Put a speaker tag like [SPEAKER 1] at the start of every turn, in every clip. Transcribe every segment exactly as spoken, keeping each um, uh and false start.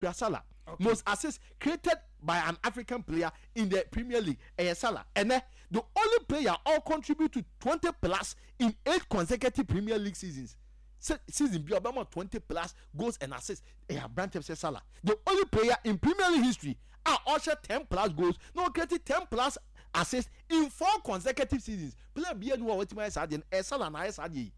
[SPEAKER 1] Kura Salah. Okay. Most assists created by an African player in the Premier League, ɛyɛ Salah. Ɛnɛ, the only player all contribute to twenty plus in eight consecutive Premier League seasons. Se season bi a ɔbɛma twenty plus goals and assists, ɛyɛ aberanteɛ sɛ Salah. The only player in Premier League history a ɔhyɛ ten plus goals na ɔcreate ten plus assists in four consecutive seasons. Player bi anu a watumi ayɛ saa deɛ no, ɛyɛ Salah na ayɛ saa deɛ yi.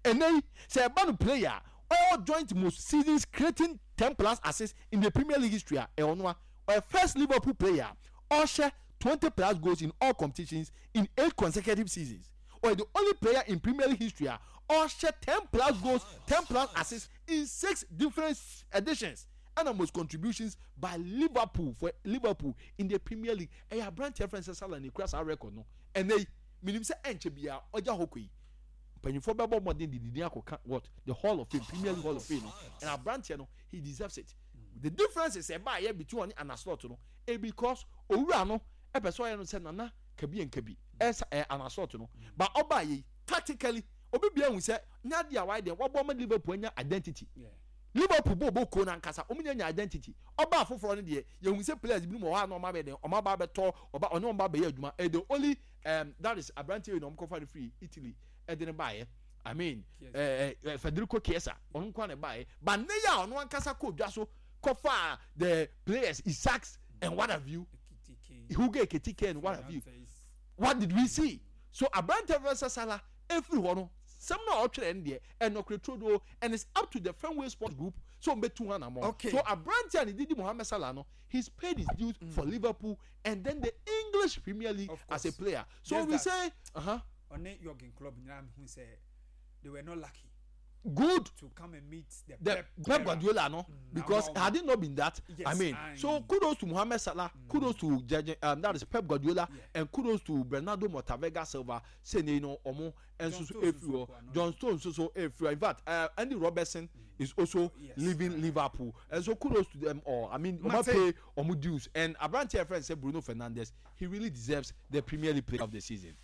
[SPEAKER 1] Ɛnɛ yi, sɛ ɛba no player a ɔwɔ joint most seasons creating ten plus assists in the Premier League history a, ɛwɔ no a, ɔyɛ first Liverpool player a ɔhyɛ twenty plus goals in all competitions in eight consecutive seasons. Ɔyɛ the only player in Premier League history a ɔhyɛ ten plus goals, ten plus assists in six different editions, ɛna most contributions by Liverpool for Liverpool in the Premier League. Ɛyɛ aberanteɛ fɛn sɛ Salah na ekura saa record no. Ɛnɛ yi, minim sɛ ɛnkyɛ biara ɔgya hɔ kɔ yi, mpanyinfoɔ bɛbɔ mmɔden de didi akɔka what the Hall of Fame, Premier League Hall of Fame no, and aberanteɛ no, he deserves it. The difference is ɛba ayɛ between ɔne Arne Slot no e because owura no ɛpɛ sɛ ɔyɛ no sɛ nana kabi nkabi ɛsa ɛ Arne Slot no, but ɔba yɛ yi, tactically obi bia ehu sɛ nyadi a wayɛ deɛ wabɔ ɔmo Liverpool anya identity.
[SPEAKER 2] Yeah.
[SPEAKER 1] Liverpool bɔ ɔbɔ kuo nankasa, ɔmo nya nya identity. Ɔba afoforɔ no deɛ, yɛhu sɛ players bi mu wɔ hɔ a na ɔmo abɛ deɛ ɔmo aba abɛtɔ ɔba ɔne ɔmo ba abɛyɛ adwuma. Ɛ the only um, that is aberanteɛ yi na ɔmo kɔfa no firi Italy ɛde ne baayɛ, I mean, ɛɛ ɛ Federico Chiesa, ɔno nko na baayɛ, but ne yɛ a ɔno ankasa kɔ dwa so kɔfa the players, Isaks and what have you, Hugo Ekitike and what have you. What did we see? So aberanteɛ fɛ sɛ Salah efiri hɔ no, sɛm na ɔtwerɛ no deɛ ɛnɔkore turodo, and it's up to the Fenway Sports Group so ɔmbɛtu ho anamɔ.
[SPEAKER 2] Okay.
[SPEAKER 1] So aberanteɛ a ne didi Mohamed Salah no, he's paid his dues mm. for Liverpool and then the English Premier League as a player. So
[SPEAKER 2] Just
[SPEAKER 1] we
[SPEAKER 2] that.
[SPEAKER 1] say uh-huh.
[SPEAKER 2] Ɔne Jurgen Klopp nyinaa hu sɛ they were not lucky
[SPEAKER 1] Good.
[SPEAKER 2] to come and meet the,
[SPEAKER 1] the
[SPEAKER 2] Pep,
[SPEAKER 1] Pep Guardiola no,
[SPEAKER 2] Mm,
[SPEAKER 1] because
[SPEAKER 2] now-
[SPEAKER 1] had it not been that,
[SPEAKER 2] Yes,
[SPEAKER 1] I mean,
[SPEAKER 2] I-
[SPEAKER 1] so kudos to Mohamed Salah, kudos to Jurgen, um, that is Pep Guardiola,
[SPEAKER 2] Yeah.
[SPEAKER 1] and kudos to Bernardo Motavega Silva. Say you know, omo and
[SPEAKER 2] John
[SPEAKER 1] so
[SPEAKER 2] Stones
[SPEAKER 1] efiri
[SPEAKER 2] nso
[SPEAKER 1] hɔ.
[SPEAKER 2] kɔ ano.
[SPEAKER 1] John Stones so efiri hɔ. In fact, uh, Andy Robertson is also
[SPEAKER 2] Yes.
[SPEAKER 1] leaving Liverpool, and so kudos to them all. I mean, omo
[SPEAKER 2] Mate.
[SPEAKER 1] pay omo dues, and aberanteɛ friend say Bruno Fernandes, he really deserves the Premier League Player of the Season.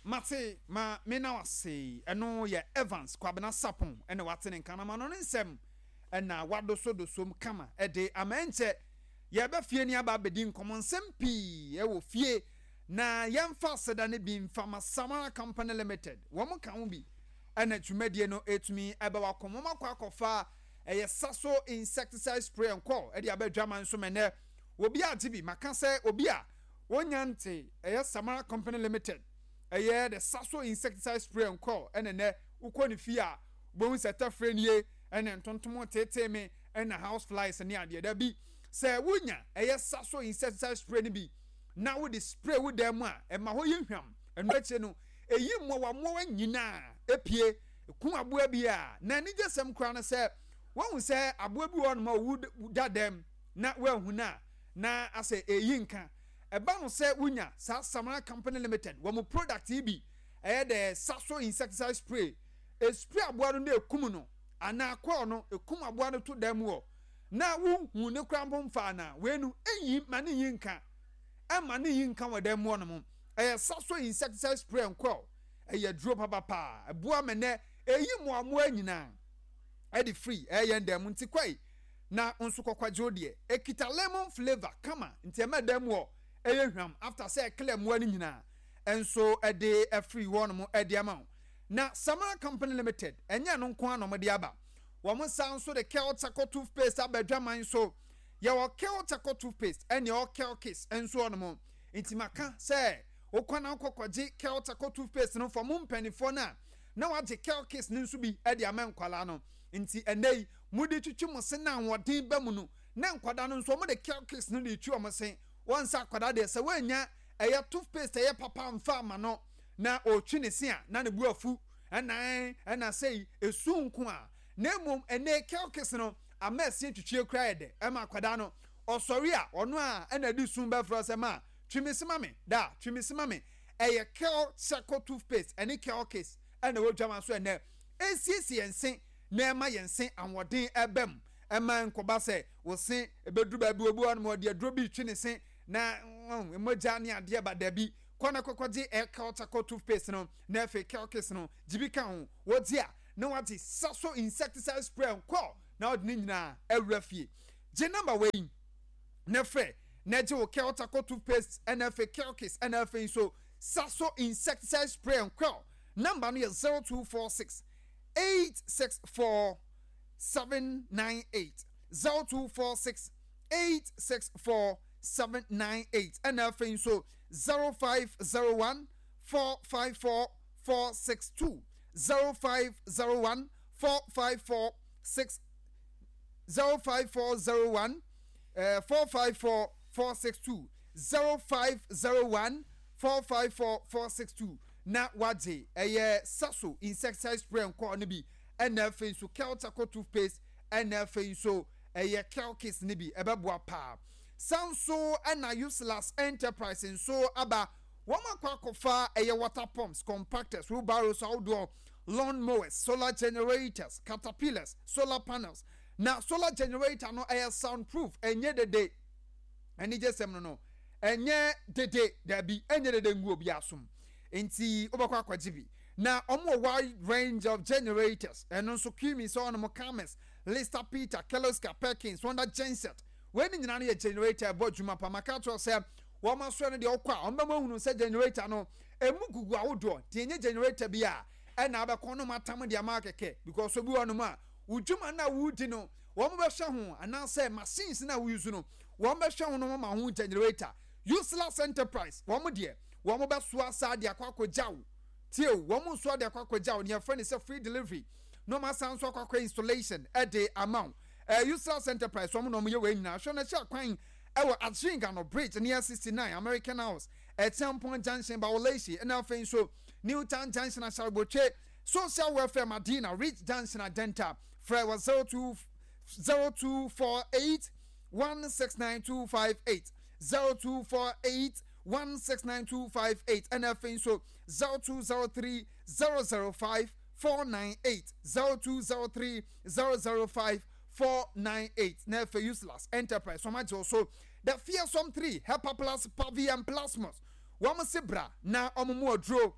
[SPEAKER 2] Mate, ma me na wase. Ɛno yɛ Evans Kwabena Sapon ɛna wate ne nka na ma no ne nsɛm ɛna wadosodosom kama ɛde ama. Ɛnkyɛ yɛbɛ fie ni aba abɛdi nkɔmmɔ nsɛm pii ɛwɔ fie na yɛmfa aseda no bi mfa ma Samara Company Limited. Wɔn ka ho bi ɛna dwumadie no ɛtumi ɛbɛ wakɔ wɔn akɔ akɔfa ɛyɛ Saso insecticide spray nkɔ ɛde aba adwama nso mɛnɛ obi agye bi. Maka sɛ obi a wonya nte ɛyɛ Samara Company Limited, ɛyɛ the Saso insecticide spray nkɔ, ɛna nɛ wokɔ ne fie a bohu sɛ tɛfrɛ nie ɛna ntontom tete me ɛna house flies ne adeɛ dabi. Sɛ wonya ɛyɛ Saso insecticide spray no bi na wode spray wo dan mu a, ɛma hɔ yɛ hwam. Ɛno akyire no, ɛyi mmoawa mmoawa nyinaa epie kum aboa bi a na anigye sɛm koraa no sɛ wɔn sɛ aboa bi wɔ hɔnom a owu da dɛm na wɔahu no a na asɛ ɛyi nka. Ɛba no sɛ wonya saa Samara Company Limited wɔn mo product yi bi, ɛyɛ the Saso insecticide spray, espray aboa no na ekum no anaa kɔɔ no ekum aboa no to dan mu hɔ na wohu ne kora mpo mfa ana wei no ɛyi ma ne yi nka, ɛma ne yi nka wɔ dan mu hɔ nom. Ɛyɛ Saso insecticide spray nkɔɔ, ɛyɛ duro papapaa, ɛboa mɛnɛ ɛyi mmoamoa nyinaa ɛde free ɛyɛ dan mu. Nti kɔi na nso kɔkɔgye wo deɛ, ekita lemon flavour kama nti ɛmɛ dan mu hɔ ɛyɛ hwam after sɛ ɛclear mmoa no nyinaa ɛnso ɛde ɛfiri hɔ nom ɛde ama wo. Na Samara Company Limited, ɛnyɛ no nko ara na wɔde aba. Wɔn san nso de Kel Charcoal toothpaste aba adwaman so. Yɛwɔ Kel Charcoal toothpaste ɛne ɛwɔ Kel Kiss nso hɔ nom. Nti maka sɛ wokɔ na wokɔkɔgye Kel Charcoal toothpaste no fɔ mo mpanimfoɔ no a, na wagye Kel Kiss no nso bi ɛde ama nkwalaa no. Nti ɛnɛ yi mode twitwi mo se na ahoɔden ba mu no, na nkwadaa no nso wɔde Kel Kiss no de twi wɔn se. Wɔn nsa akwadaa deɛ, sɛ wɔanya ɛyɛ toothpaste ɛyɛ papa mfa ama no na ɔretwi ne se a, na ne bu afu ɛnan ɛna sɛyi esu nko a. Na mmom ɛnɛ Kel Kiss no ama ɛse twitwie kura yɛ dɛ ɛma akwadaa no ɔsɔre a, ɔno a ɛna de sun bɛfrɛ sɛ ma twi me se ma me da, twi me se ma me. Ɛyɛ Kel Charcoal toothpaste ɛne Kel Kiss ɛna ɛwɔ dwama so ɛnɛ esiesie yɛn se na ɛma yɛn se ahoɔden ɛbɛm. Ɛma nkɔba sɛ wɔse ebeduru baabi obi wɔ nom ɔde aduro bi twi ne se na mogya ne adeɛ ba. Dabi, kɔ na kɔkɔgye ɛ Kel Charcoal toothpaste no na afei Kel Kiss no gye bi ka ho. Wɔgye a, na wagye Saso insecticide spray nkɔ na ɔde ne nyinaa awura fie. Gye number wei na frɛ na gye wo Kel Charcoal toothpaste, ɛna afei Kelkis, ɛna afei nso Saso insecticide spray and quell. Number no yɛ zero two four six eight six four seven nine eight, zero two four six eight six four seven nine eight, ɛna afei nso zero five zero one four five four four six two, zero five zero one four five four six zero five four zero one uh, four five four four six two, zero five zero one four five four four six two, na wagye ɛyɛ Saso insecticide spray nkɔɔ no bi, ɛna afei nso Kel Charcoal toothpaste, ɛna afei nso ɛyɛ Kelkis no bi. Ɛbɛboa paa. San so ɛna Useless Enterprise nso aba. Wɔn akɔ akɔfa ɛyɛ water pumps, compactors, wheelbarrows ahodoɔ, lawn mowers, solar generators, caterpillars, solar panels. Na solar generator no ɛyɛ sound proof, ɛnyɛ dede. Anigye sɛm no no ɛnyɛ dede, dabi, ɛnyɛ dede ngu obi asom, nti wobɛkɔ akɔgye bi. Na ɔmo wɔ wide range of generators. Ɛno nso Cummins, ɔnom Cummins, Lister Peter, Kirloskar, Perkins, Honda genset. Wei ne nyinaa no yɛ generator ɛbɔ adwuma pa. Maka kyerɛ sɛ wɔn asoɛ no deɛ, ɔkɔ a wɔn bɛma hunu sɛ generator no emu gugu ahodoɔ, nti enye generator bi a ɛna abɛkɔ no atam deɛ ama kɛkɛ, because obi wɔ nom a wodwuma no a wodi no, wɔn bɛhwɛ ho, anaasɛ machines no a woyi no, wɔn bɛhwɛ ho no ma ho generator. Useless Enterprise, wɔn deɛ, wɔn bɛsoa saa de akɔ akɔgya wo. Tie o, wɔn nso de akɔ akɔgya wo. Nea yɛfrɛ no sɛ free delivery na wɔn asan nso akɔ akɔ installation ɛde ama wo. Ɛɛ useless Enterprise, wɔn na wɔn yɛ wɔn nyinaa. Hwɛ no hyɛ kwan ɛwɔ Adjinga Bridge near sixty nine American House, Ɛtiampɔn Junction, Bawolesi, ɛna afei nso Newtown Junction, Asarbotwe, Social Welfare, Madina Ridge Junction, Adenta. Frɛ wɔ zero two zero two four eight one six nine two five eight, zero two four eight one six nine two five eight, ɛna afei nso zero two zero three zero zero five four nine eight, zero two zero three zero zero five four nine eight. Na afei Useless Enterprise, wɔn agye so the Fearsome three, Hepa Plus, Pavi and Plasmos. Wɔn se bra na wɔn mu aduro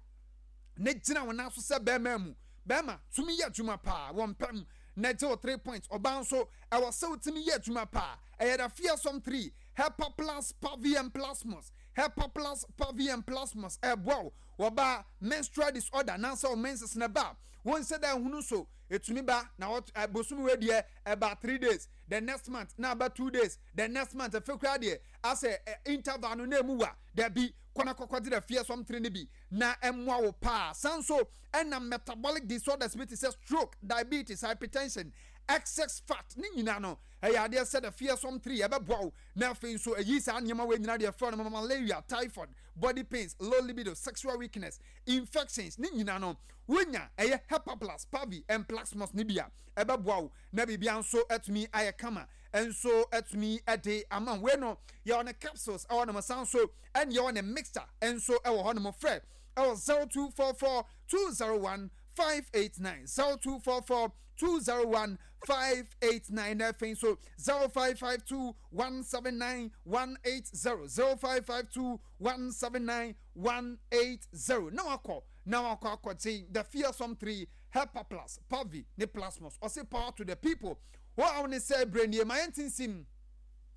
[SPEAKER 2] ne gyina wɔn nan so sɛ bɛrima mu bɛrima tumi yɛ adwuma paa. Wɔn pɛm na gye wɔ three points. Ɔbaa nso ɛwɔ sɛ wotumi yɛ adwuma paa. Ɛyɛ the Fearsome three, Hepa Plus, Pavi and Plasmos. Hepa Plus, Pavi and Plasmos ɛboa wo wɔba menstrual disorder nansɛ wo menses na ba wɔn nhyɛ dɛ ehunu so etumi ba na wɔt bosomi wei deɛ ɛba three days, the next month na aba two days, the next month efe kura deɛ asɛ ɛ interval no na emu wa. Dabi, kɔnɔ kɔkɔ de the Fearsome three ne bi na ɛmoa wo paa. San so ɛna metabolic disorders bi te sɛ stroke, diabetes, hypertension, excess fat ne nyinaa no, ɛyɛ adeɛ sɛ the Fearsome three ɛbɛboa wo. Na afei nso ɛyi saa nneɛma wei nyinaa deɛ ɛfrɛ no malaria, typhoid, body pains, low libido, sexual weakness, infections ne nyinaa no, wonya ɛyɛ Hepa Plus, Pavi and Plasmos ne bi a, ɛbɛboa wo na biribia nso atumi ayɛ kama nso atumi ɛde ama wei no. Yɛwɔ ne capsules ɛwɔ nom, san so ɛne yɛwɔ ne mixture nso ɛwɔ hɔ nom. Frɛ ɛwɔ zero two four four two zero one five eight nine, zero two four four two zero one five eight nine, na afei nso zero five five two one seven nine one eight zero, zero five five two one seven nine one eight zero. Na wakɔ na wakɔ akɔgye the Fearsome three, Hepa Plus, Pavi ne Plasmos. Ɔse power to the people. Wɔn a wɔn ne sɛ brenie ma yɛn tinsim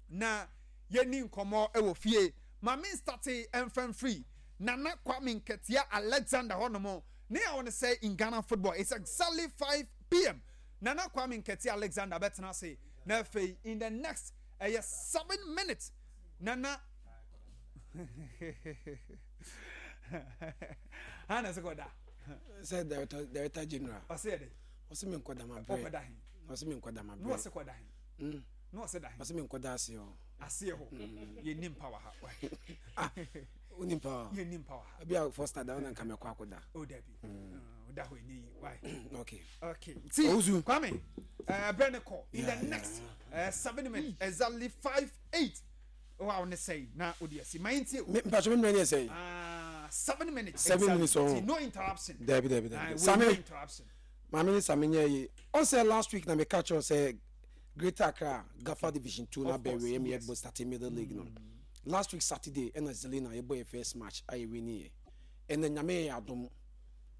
[SPEAKER 2] na yɛni nkɔmɔ wɔ fie. Maame start mfɛnfiri Nana Kwame Nketia Alexander hɔnom ne a wɔn sɛ in Ghana football, it's exactly five p m. Nana Kwame Nketia Alexander bɛtena ase na afei in the next ɛyɛ seven minutes Nana hana sɛ kɔda.
[SPEAKER 3] Sɛ director director general.
[SPEAKER 2] Ɔsɛ yɛ de.
[SPEAKER 3] Ɔsɛ mi nkɔda ma brɛ.
[SPEAKER 2] Ɔkɔda he?
[SPEAKER 3] Ɔsɛ mi nkɔda ma
[SPEAKER 2] na
[SPEAKER 3] brɛ.
[SPEAKER 2] Ɔsɛ kɔda he?
[SPEAKER 3] Mm.
[SPEAKER 2] Na ɔsɛ da he?
[SPEAKER 3] Ɔsɛ mi nkɔda ase hɔ.
[SPEAKER 2] Aseɛ hɔ yɛni mpa wɔ ha.
[SPEAKER 3] Ah, woni mpa hɔ?
[SPEAKER 2] Yɛni mpa wɔ ha.
[SPEAKER 3] Ebi a first da ɔna nka mɛkɔ akɔda.
[SPEAKER 2] O dabi, ɔda hɔ ɛnyɛ yi why.
[SPEAKER 3] Okay.
[SPEAKER 2] Okay, ti
[SPEAKER 3] Owusu.
[SPEAKER 2] Kwame, uh, brɛ ne kɔ in
[SPEAKER 3] Yeah,
[SPEAKER 2] the
[SPEAKER 3] yeah,
[SPEAKER 2] next uh, seven minutes, exactly five eight wa wo ne sɛyi na o de asi ma yɛn tie o.
[SPEAKER 3] Me mpatwa mi mmerɛ ne yɛ sɛyi.
[SPEAKER 2] Ah, seven minutes.
[SPEAKER 3] Seven
[SPEAKER 2] exactly.
[SPEAKER 3] minutes, oh.
[SPEAKER 2] Ti, no interruption.
[SPEAKER 3] Dabi, dabi,
[SPEAKER 2] Ah,
[SPEAKER 3] dabi.
[SPEAKER 2] wei,
[SPEAKER 3] Sami.
[SPEAKER 2] no interruption.
[SPEAKER 3] Maame ne Sami nyɛ yi. Ɔsɛ last week na mi ka kyerɛ sɛ Greater Accra Gafa Division Two na
[SPEAKER 2] Of course,
[SPEAKER 3] bɛɛ wei yɛ
[SPEAKER 2] yes.
[SPEAKER 3] bɔ starting middle league no. Last week Saturday ɛna Zelina yɛ bɔ yɛ first match a yɛ win yɛ. Ɛna Nyame yɛ adom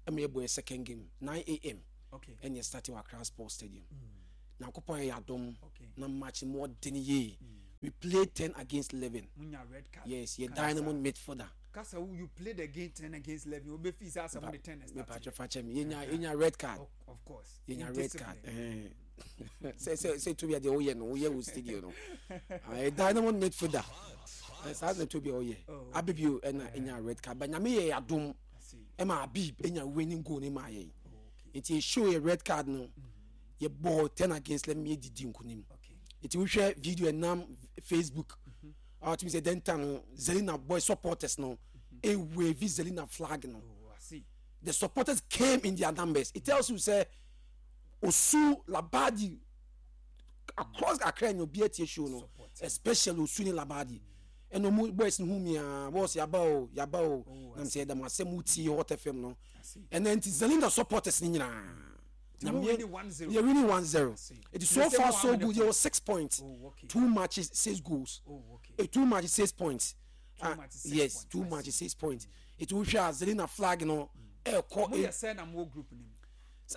[SPEAKER 3] ɛma yɛ bɔ yɛ second game nine a m
[SPEAKER 2] okay
[SPEAKER 3] ɛna yɛ starting wɔ Accra Sports Stadium. Nyankopɔn yɛ adom
[SPEAKER 2] Okay.
[SPEAKER 3] na match mu ɔden yie. We played ten against eleven.
[SPEAKER 2] Munya red card.
[SPEAKER 3] Yes, yɛ
[SPEAKER 2] Kasa-
[SPEAKER 3] dynamo midfielder.
[SPEAKER 2] Kasa wo, you played again ten against eleven. Obe fi sɛ asɛm de ten na start.
[SPEAKER 3] Mepatwɛ fakyɛ me, yɛnya yɛnya red card.
[SPEAKER 2] Of, of course.
[SPEAKER 3] Yɛnya red card.
[SPEAKER 2] Indiscipline.
[SPEAKER 3] Ɛhɛn. sɛ sɛ sɛ Tobi adeɛ woyɛ no, woyɛ wɔ studio no. Ah, dynamo midfielder. Eh, saa na Tobi a ɔyɛ.
[SPEAKER 2] Oh.
[SPEAKER 3] Abibio ɛna ɛnya red card, but Nyame yɛ adom
[SPEAKER 2] I see.
[SPEAKER 3] ɛma Abib ɛnya winning goal ne maa yɛn.
[SPEAKER 2] Oh, okay.
[SPEAKER 3] Nti show yɛ red card no, yɛbɔɔ ten against eleven, yɛdidi nkonim.
[SPEAKER 2] Okay.
[SPEAKER 3] Nti wohwɛ video ɛnam Facebook a, wɔtumi sɛ dɛnta no, Zelina boy supporters no ewave Zelina flag no.
[SPEAKER 2] Oh, I see.
[SPEAKER 3] The supporters came in their numbers. It tells you say Osu, Labadi, across Accra ni obi etie show no.
[SPEAKER 2] Support.
[SPEAKER 3] Especially Osu ne Labadi, ɛna ɔmo boys no hu mi a, boss, yaba o, yaba o.
[SPEAKER 2] Oh, I
[SPEAKER 3] Nam sɛ ɛdam asɛm wotie Hot F M no.
[SPEAKER 2] I see.
[SPEAKER 3] Ɛna nti Zelina supporters ne nyinaa
[SPEAKER 2] Nti mo winning one zero.
[SPEAKER 3] Yɛ winning one zero.
[SPEAKER 2] See.
[SPEAKER 3] It is so
[SPEAKER 2] The same
[SPEAKER 3] far
[SPEAKER 2] one
[SPEAKER 3] so
[SPEAKER 2] with the
[SPEAKER 3] good. Yɛ wɔ six points.
[SPEAKER 2] Oh, okay.
[SPEAKER 3] Two matches, six goals.
[SPEAKER 2] Oh, okay.
[SPEAKER 3] Eh, two matches, six points.
[SPEAKER 2] Two
[SPEAKER 3] Ah,
[SPEAKER 2] matches, six
[SPEAKER 3] yes,
[SPEAKER 2] points.
[SPEAKER 3] two
[SPEAKER 2] I
[SPEAKER 3] matches, six points. It will share Zelina flag no ɛkɔ.
[SPEAKER 2] Mo yɛ sɛ na mo wɔ group nim?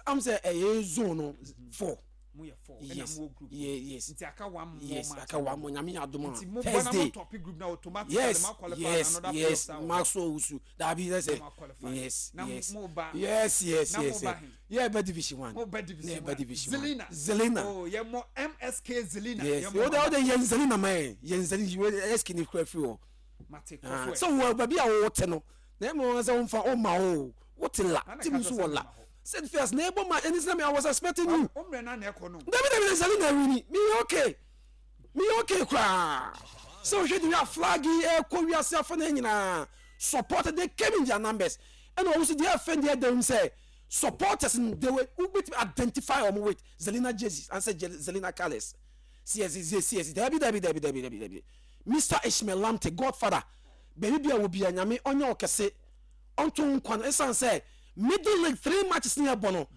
[SPEAKER 3] I'm say ɛyɛ zone no four.
[SPEAKER 2] Mo yɛ four.
[SPEAKER 3] Yes.
[SPEAKER 2] Ɛna mo wɔ group.
[SPEAKER 3] Yeah, yes.
[SPEAKER 2] Nti aka one more
[SPEAKER 3] Yes,
[SPEAKER 2] match.
[SPEAKER 3] aka one more. Nyame adom
[SPEAKER 2] Nti
[SPEAKER 3] a
[SPEAKER 2] mo bɔ na mo
[SPEAKER 3] Thursday.
[SPEAKER 2] top group na automatically
[SPEAKER 3] Yes,
[SPEAKER 2] mo qualify
[SPEAKER 3] yes,
[SPEAKER 2] another
[SPEAKER 3] yes.
[SPEAKER 2] playoffs a wɔ.
[SPEAKER 3] Maxwell Owusu. Dabi sɛ
[SPEAKER 2] Mo
[SPEAKER 3] sɛ.
[SPEAKER 2] qualify.
[SPEAKER 3] Yes,
[SPEAKER 2] Na
[SPEAKER 3] yes.
[SPEAKER 2] mo ba-
[SPEAKER 3] Yes, yes,
[SPEAKER 2] na mo
[SPEAKER 3] yes.
[SPEAKER 2] ba
[SPEAKER 3] yes.
[SPEAKER 2] he?
[SPEAKER 3] Yeah, bɛ division one.
[SPEAKER 2] Mo bɛ division
[SPEAKER 3] Yeah,
[SPEAKER 2] one.
[SPEAKER 3] bɛ division one.
[SPEAKER 2] Zelina.
[SPEAKER 3] Zelina.
[SPEAKER 2] Oh, yɛ mo M S K Zelina.
[SPEAKER 3] Yes.
[SPEAKER 2] Yɛ mo
[SPEAKER 3] O de o de yɛn Zelina man. Yɛn Zelina S K ni kura firi hɔ.
[SPEAKER 2] Mate
[SPEAKER 3] Ah,
[SPEAKER 2] kɔfɛ.
[SPEAKER 3] sɛ wɔ baabi a wɔwɔ no na ɛma wɔn sɛ wɔmfa ɔma o, wote la
[SPEAKER 2] Ana
[SPEAKER 3] team
[SPEAKER 2] ka
[SPEAKER 3] nso
[SPEAKER 2] sɛ
[SPEAKER 3] wɔ
[SPEAKER 2] sɛ
[SPEAKER 3] la
[SPEAKER 2] ɔma hɔ.
[SPEAKER 3] sɛ first na ɛbɔ ma ɛni sɛ mi, I was expecting you.
[SPEAKER 2] O mmerɛ na na ɛkɔ no.
[SPEAKER 3] Dabi, dabi, dabi, Zelina wini, mi yɛ okay, mi yɛ okay koraa sɛ wohwɛ de wi a flag yi ɛkɔ wiase afa no nyinaa, support, they came in their numbers. Ɛna wɔn nso deɛ ɛfɛn deɛ ɛdɛm sɛ supporters no, they were wobɛtumi identify wɔn with Zelina jerseys ansɛ Zelina colours. C S C S, dabi, dabi, dabi, dabi, dabi, dabi. Mister Ishmael Lamte, godfather, baabi bi a wɔ bia, Nyame ɔnyɛ ɔkɛse, ɔnto nkwa no, ɛsiane sɛ middle league three matches ne ɛbɔ no,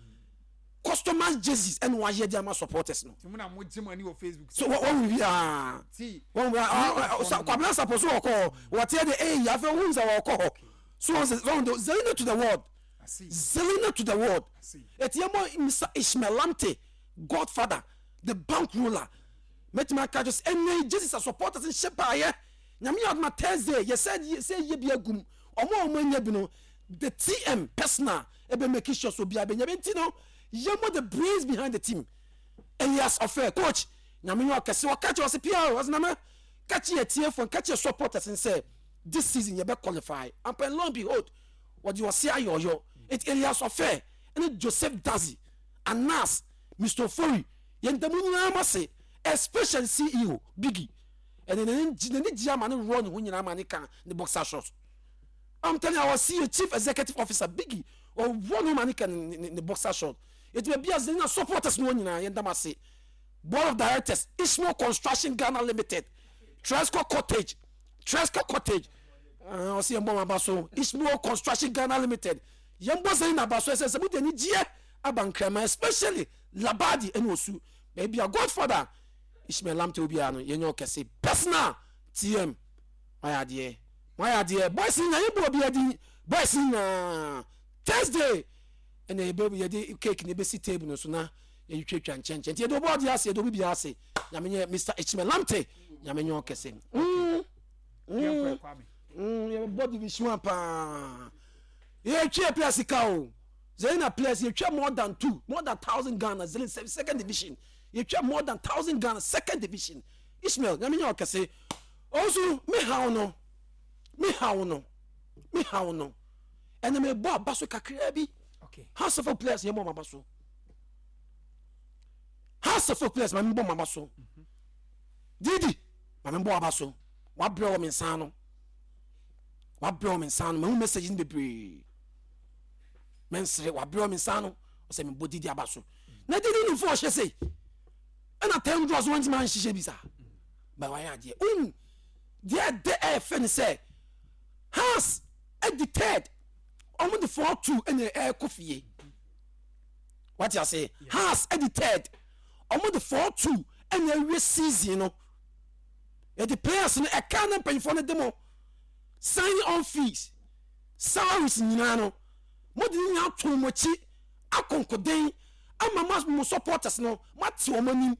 [SPEAKER 3] customized jerseys ɛna wayɛ de ama supporters no.
[SPEAKER 2] Nti mo na mo gye mo ani wɔ Facebook.
[SPEAKER 3] So wɔn wɔn wi aa
[SPEAKER 2] Ti.
[SPEAKER 3] wɔn wi aa, Kwabena Sapo so wɔkɔ hɔ, wɔteɛ de eyi afɛ ohun sɛ wɔkɔ hɔ so wɔn sɛ wɔn de Zelina to the world.
[SPEAKER 2] I see.
[SPEAKER 3] Zelina to the world.
[SPEAKER 2] I see.
[SPEAKER 3] Eti yɛ mɔ Mister Ishmael Lamte, godfather, the bank ruler, mɛtumi aka kyerɛ sɛ ɛnɛ jerseys a supporters nhyɛ baayɛ. Nyame yɛ adoma, Thursday yɛsɛ sɛ yɛ bi agum ɔmo a ɔmo anya bi no, the T M personal ɛbɛ make sure so obiara bɛnya bi. Nti no yɛ mɔ the brains behind the team, Elias Ɔfɛ, coach, Nyame yɛ ɔkɛse. Ɔka kyerɛ ɔsɛ pia ɔsɛ nana ka kyerɛ tiefo, ka kyerɛ supporters sɛ this season yɛbɛ qualify ampa. Lo and behold, wɔde ɔse ayɛ ɔyɔ. Eti Elias Ɔfɛ ɛne Joseph Dazi, Anas, Mister Ofori, yɛn damu nyinaa ma se, especially C E O Biggie, ɛne n'ani gye n'ani gye ama ne rɔ ne ho nyinaa ma ne ka ne boxer short. I'm telling you, our C E O, chief executive officer Biggie, ɔwɔ ne ho ma ne ka ne ne ne boxer short. Eti baabi a Zelina supporters no wɔn nyinaa, yɛn dam ase. Board of directors, Ismo Construction Ghana Limited, Tresco Cottage, Tresco Cottage, ɔsi yɛn bɔ wɔn aba so. Ismo Construction Ghana Limited, yɛn bɔ Zelina aba so. Ɛsɛ sɛ mo de ani gyeɛ aba Nkrama, especially Labadi ɛne Osu, baabi a godfather Ishmael Lamte obiara no, yɛnyɛ ɔkɛse. Personal T M wayɛ adeɛ, wayɛ adeɛ. Boys nyinaa, yɛn bɔ obiara din. Boys nyinaa, Thursday ɛna yɛbɛ yɛde cake na ebesi table no so na yɛtwitwa nkyɛnkyɛn. Nti yɛde ɔbɔ adeɛ ase, yɛde obi biara ase. Nyame nyɛ Mister Ishmael Lamte, Nyame nyɛ ɔkɛse. Mm.
[SPEAKER 2] Yɛnkɔ Kwame.
[SPEAKER 3] Mm, yɛbɔ division one paa, yɛtwa players sika o. Zelina players yɛtwa more than two, more than thousand Ghana. Zelina second division yɛtwa more than thousand Ghana, second division. Ishmael, Nyame nyɛ ɔkɛse. Ɔnso me haw no, me haw no, me haw no, ɛna mebɔ aba so kakraa bi.
[SPEAKER 2] Okay.
[SPEAKER 3] Hearts of players, yɛmmɔ ɔmo aba so. Hearts of players, ma mebɔ ɔmo aba so. Didi, ma mebɔ aba so. Wabrɛ wɔ me nsa no, wabrɛ wɔ me nsa no. Mahu message no bebree, mɛnsere. Wabrɛ wɔ me nsa no, ɔsɛ mebɔ Didi aba so. Na Didi nimfo ɔhyɛ sei ɛna ten draws wɔntimi anhyehyɛ bi saa ba wayɛ adeɛ. Wohu deɛ ɛdɛ ɛɛfɛ ne sɛ Hearts ɛdi third, ɔmo de four two ɛna ɛɛkɔ fie. Wate ase? Hearts ɛdi third, ɔmo de four two ɛna ɛwie season no. Yɛde players no ɛka ne mpanyinfoɔ no de mo sign on fees, salaries nyinaa no, mo de ne nyinaa to mo akyi akonkoden. Ama mo mo supporters no, moate wɔn anim.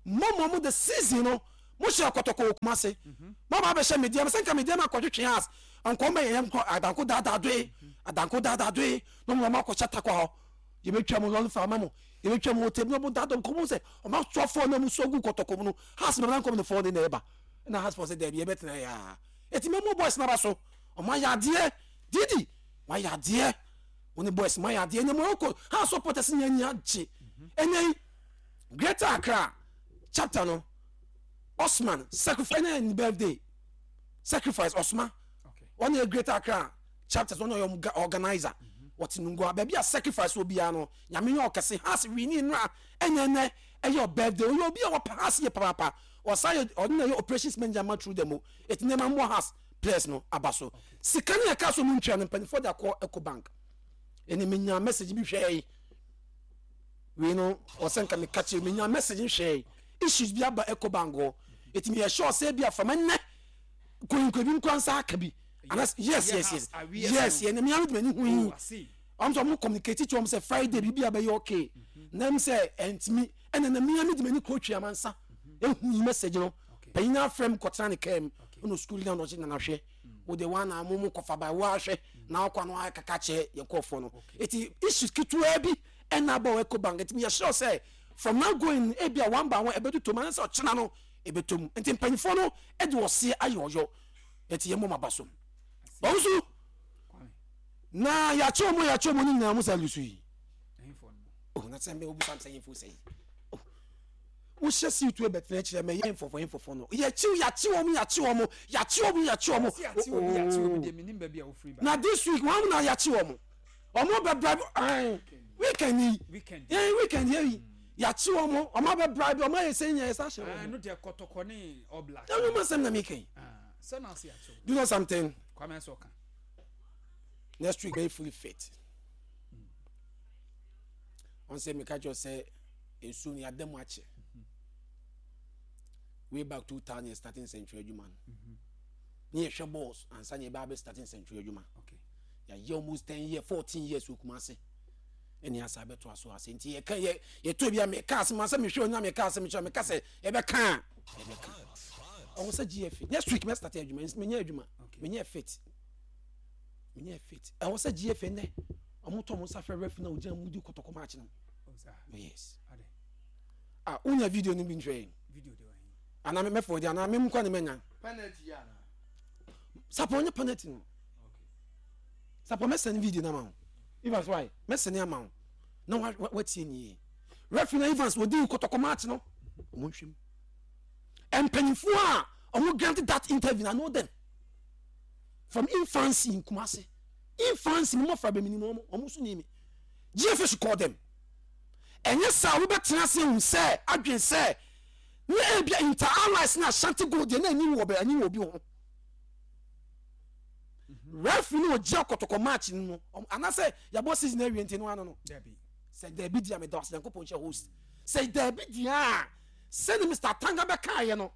[SPEAKER 3] Mo mo mo the season no, mo hyɛ Kɔtɔkɔ wɔ Kumase. Mo ba bɛhyɛ Medeama, sɛ nka Medeama akɔtwetwe Hearts, nkɔm bɛyɛ yɛn nkɔ Adanko daadaa doe, Adanko daadaa doe, na ɔmo ɔmo akɔhyɛ Tarkwa hɔ. Yɛbɛtwa mo lɔre fa ama mo, yɛbɛtwa mo hotel bi, na ɔmo daadaa nkɔm sɛ ɔmo asoa fɔɔ na ɔmo so agu Kɔtɔkɔ mu no, Hearts bɛbɛ na nkɔm ne fɔɔ ne na ɛba. Ɛna Hearts fɔ sɛ daabi yɛbɛtena yɛ a. Eti mɛmo boys n'aba so, ɔmo ayɛ adeɛ, Didi, wayɛ adeɛ. Wɔn ne boys mo ayɛ adeɛ. Ɛnna Morocco Hearts supporters nyɛ ani agye. Ɛnna yi Greater Accra chapter no, Osman sacrifice na ne birthday sacrifice Osman wɔn yɛ Greater Accra chapters, wɔn yɛ ɔmo organizer, wɔte Nungua baabi a sacrifice wɔ biara no. Nyame yɛ ɔkɛse. Hearts wini nra, ɛnyɛ nɛ ɛyɛ ɔ birthday. Ɔyɛ obi a wɔpɛ Hearts yɛ papaapa. Ɔsan yɛ ɔno na yɛ operations manager ma through them o. Eti nneɛma mbɔ Hearts players no aba so. Sika ne yɛ kaa so mu ntua no, mpanimfoɔ de akɔ Eco Bank. Ɛna menya message bi hwɛ yi wei no, ɔsɛ nka meka kyerɛ, menya message nhwɛ yi, issues bi aba Eco Bank hɔ. Eti meyɛ sure sɛ bi afama nnɛ koyinkɔ bi nkura nsa aka bi. Anas, yes yes yes yes yɛn mmea mi de m'ani hu yi, ɔmo sɛ ɔmo communicate kyerɛ ɔmo sɛ Friday biribi a bɛyɛ okay, na m sɛ ɛntumi. Ɛna na mmea mi de m'ani kɔ otwi amansa ehu yi message no. Panyin afrɛ m kɔtena ne kaa mu, ɛna sukuu na ɔgye nana hwɛ wo de wa na mo mo kɔfa ba wo ahwɛ na akɔ ano akaka kyerɛ yɛn kɔɔfoɔ no. Eti issues ketewa bi ɛna aba wɔ Eco Bank. Eti yɛ sure sɛ from now going, ebi a one by one ɛbɛto tom, anasɛ ɔkyena no ɛbɛtɔ mu. Nti mpanyinfoɔ no ɛde ɔseɛ ayɛ ɔyɔ. Eti yɛn mo ma ba so wɔn so na yɛakyɛ wɔn yɛakyɛ wɔn nyinaa mo sa lusu yi. Oh, na sɛ mbɛ obi sam sɛ yɛn fo sɛ yi wohyɛ suit bɛtena kyerɛ mɛ yɛn fɔfɔ yɛn fɔfɔ no, yɛkyiw yɛakyi wɔn, yɛakyi wɔn, yɛakyi wɔn, yɛakyi wɔn. Na this week wɔn na yɛakyi wɔn, wɔn bɛ bribe ɛn weekend yi, ɛn weekend yi yɛakyi wɔn, wɔn abɛ bribe wɔn ayɛ sɛ nyɛ yɛsa hyɛ wɔn. Ɛnu ma sɛm na mi kɛn. Do you know something? Next week very fully fit. Wɔn sɛ meka kyerɛ sɛ nsuo no yɛada mu akyɛ. Way back two thousand starting nsɛntwerɛ adwuma no, ne yɛhwɛ balls ansa ne yɛbɛ abɛ starting nsɛntwerɛ adwuma. Yɛayɛ almost ten years, fourteen years wɔ Kumase, ɛne asa bɛto aso ase. Nti yɛka yɛ yɛtɔ bi a, meka asɛm asɛ mehwɛ onya, meka asɛm kyerɛ, meka sɛ yɛbɛka a yɛbɛka. Ɔwɔ sɛ G F A next week mɛ start adwuma. Menyɛ adwuma, menyɛ fit, menyɛ fit. Ɛwɔ sɛ G F A nɛ ɔmo tɔ ɔmo nsa fɛ ref na ogyina mu di Kɔtɔkɔ match no. Yes, ah, wonya video no bi nhwɛ yɛn anaa mɛfɔ di anaa mɛmu kɔ ne mɛnya sapɔ nyɛ penalty no. Sapɔ mɛsɛn video no ama wo. Evans, why mɛsɛn ama wo na watie nie. Referee na Evans wɔdi Kɔtɔkɔ match no, ɔmo nhwɛ mu. Mpanyinfoɔ a ɔmo grant that interview na know them from infancy in Kumasi. Infancy mo mmɔfra bɛ mi ni mo, ɔmo ɔmo nso ni mi. G F A should call them. Ɛnyɛ saa, wobɛtena ase ehu sɛ adwene sɛ ne ebia Inter Allies na Ashanti Gold deɛ na ani wɔ bɛ ani wɔ obi ho. Referee no ogye Kɔtɔkɔ match no no, anaasɛ yɛbɔ season awie nti no ano no sɛ daabi di a, meda ɔsɛ Nyankopɔn hyɛ host sɛ daabi di a, sɛne Mister Tanga bɛkaeɛ no,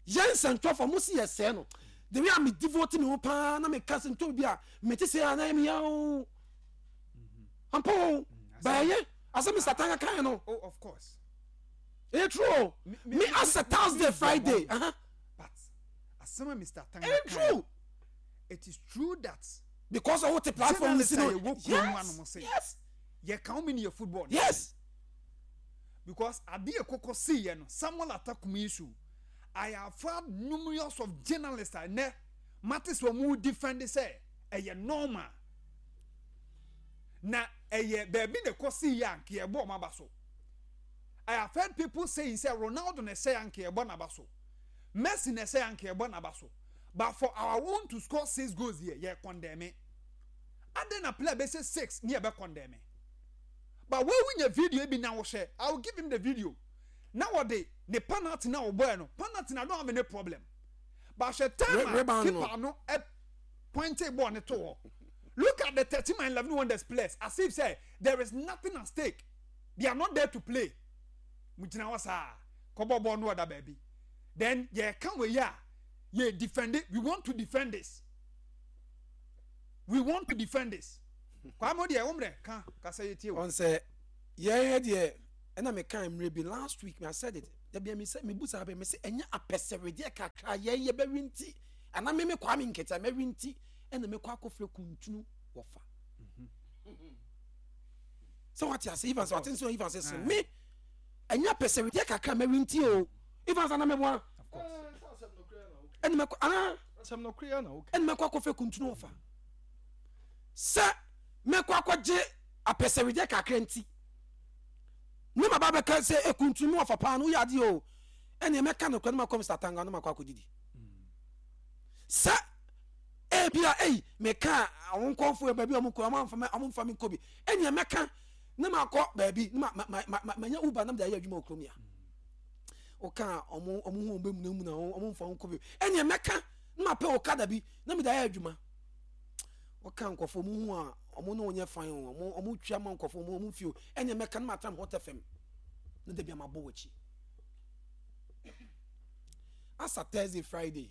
[SPEAKER 3] yɛn nsɛntwerɛfoɔ mo si yɛsɛɛ no. The way a me devote me ho paa na meka sɛ ntɔ bi a mete sɛ ana yɛ meya o ampa o bɛyɛ asɛ Mister Tanga kaeɛ no.
[SPEAKER 2] Oh, of course.
[SPEAKER 3] Ɛyɛ true o. Me asɛ Thursday, Friday uh -huh.
[SPEAKER 2] But asɛm a Mister Tanga
[SPEAKER 3] ɛyɛ true.
[SPEAKER 2] It is true that
[SPEAKER 3] because ɔwɔ te platform ni si no.
[SPEAKER 2] Yes
[SPEAKER 3] yes
[SPEAKER 2] yɛ kan mi ni yɛ football.
[SPEAKER 3] Yes.
[SPEAKER 2] Because adeɛ kɔkɔ si yɛ no, Samuel Atakum issue, I have had numerous of journalists a nɛ mate sɛ wɔn defend sɛ ɛyɛ normal na ɛyɛ baabi na ɛkɔ si yɛ a nka yɛbɔ wɔn aba so. I have heard people saying sɛ Ronaldo na ɛsɛ yɛ anka yɛbɔ n'aba so, Messi na ɛsɛ yɛ anka yɛbɔ n'aba so, but for our own to score six goals yɛ yɛ condemn. Adan na player bɛ six ne yɛ bɛ condemn, but wɔn wunya video bi na wɔhwɛ, I will give him the video na wɔde ne penalty na ɔbɔɛ no, penalty na I don't have any problem, but hwɛ time a keeper no ɛ pointing ball ne to hɔ. Look at the thirteen and eleven wonders players as if say there is nothing at stake, they are not there to play. Mo gyina hɔ saa kɔbɔ ball no ɔda baabi, then yɛ ka wɔ yi a yɛ defend it. We want to defend this, we want to defend this. Kwame deɛ wɔn mmerɛ ka kasa yɛ tie o.
[SPEAKER 3] Ɔn sɛ Yɛyɛ deɛ ɛna meka mmerɛ bi last week, I said it dabi, mi sɛ mebu saa bɛ me sɛ ɛnyɛ apɛsɛwedeɛ kakra yɛn yɛbɛwi nti ana me me Kwame Nketa mɛwi nti ɛna mekɔ akɔfrɛ kuntunu wɔfa sɛ wate ase. Evans, wate nso. Evans sɛ me ɛnyɛ apɛsɛwedeɛ kakra mɛwi nti o. Evans, ana mɛboa ɛna mɛkɔ ana
[SPEAKER 1] Asɛm no koraa na woka.
[SPEAKER 3] Ɛna mɛkɔ akɔfrɛ kuntunu wɔfa sɛ mɛkɔ akɔgye apɛsɛwedeɛ kakra nti ne ma ba bɛka sɛ ekuntunu mi wɔfa paa no, woyɛ adeɛ o. Ɛna mɛka no kora ne ma kɔ Mister Tanga ne ma kɔ akɔdidi sɛ ebia eyi mɛka ɔmo nkɔnfo yɛ baabi a ɔmo kɔ, ɔmo anfa ɔmo nfa mi nkɔ bi. Ɛna mɛka ne ma kɔ baabi ne ma ma ma ma ma nya Uber nam de ayɛ adwuma wɔ kurom ya ɔka ɔmo ɔmo ho ɔmo bɛ munamuna, ɔmo nfa ɔmo nkɔ bi. Ɛna mɛka ne ma pɛ ɔkada bi na mi de ayɛ adwuma. Ɔka nkɔfo ɔmo ho a ɔmo ne ɔnyɛ fan o, ɔmo ɔmo twia ma nkɔfo ɔmo ɔmo fi o. Ɛna mɛka ne ma tam Hot F M ne dabi ama bɔ wɔ akyi asa Thursday, Friday,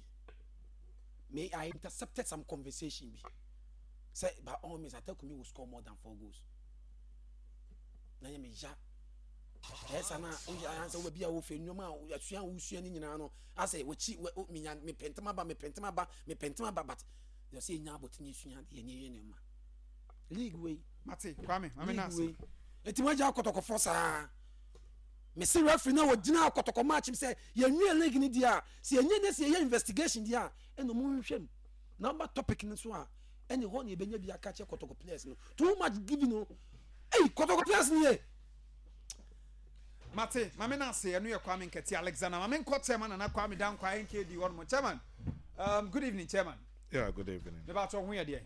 [SPEAKER 3] me I intercepted some conversation bi sɛ by all means Atakumi will score more than four goals na yɛ me ya ɛyɛ sa na woyɛ ansa wo baabi a wofɛ nneɛma a asua a wosua no nyinaa no asɛ wɔkyi wɔ menya mepɛ ntɛm aba, mepɛ ntɛm aba, mepɛ ntɛm aba, but yɛ sɛ yɛnya abɔtene esua adeɛ ne yɛyɛ nneɛma league wei.
[SPEAKER 2] Mate, Kwame, mame na
[SPEAKER 3] league
[SPEAKER 2] ase.
[SPEAKER 3] Wei eti mo agya akɔtɔkɔfɔ saa, mesi referee na wɔgyina akɔtɔkɔ match mi sɛ yɛnwie league ni deɛ a sɛ yɛnyɛ ne sɛ yɛyɛ investigation deɛ a ɛna ɔmo nhwɛ mu na ɔba topic no so a ɛne hɔ na yɛbɛnya bi aka kyerɛ Kɔtɔkɔ players no. Too much giving no, ɛyi Kɔtɔkɔ players ni yɛ.
[SPEAKER 2] Mate, mame na ase. Ɛno yɛ Kwame Nkɛte Alexander. Mame nkɔ chairman Nana Kwame Dankwa N K D hɔ nom. Chairman, um, good evening, chairman.
[SPEAKER 4] Yeah, good evening.
[SPEAKER 2] Mebaatɔ ho yɛ deɛ?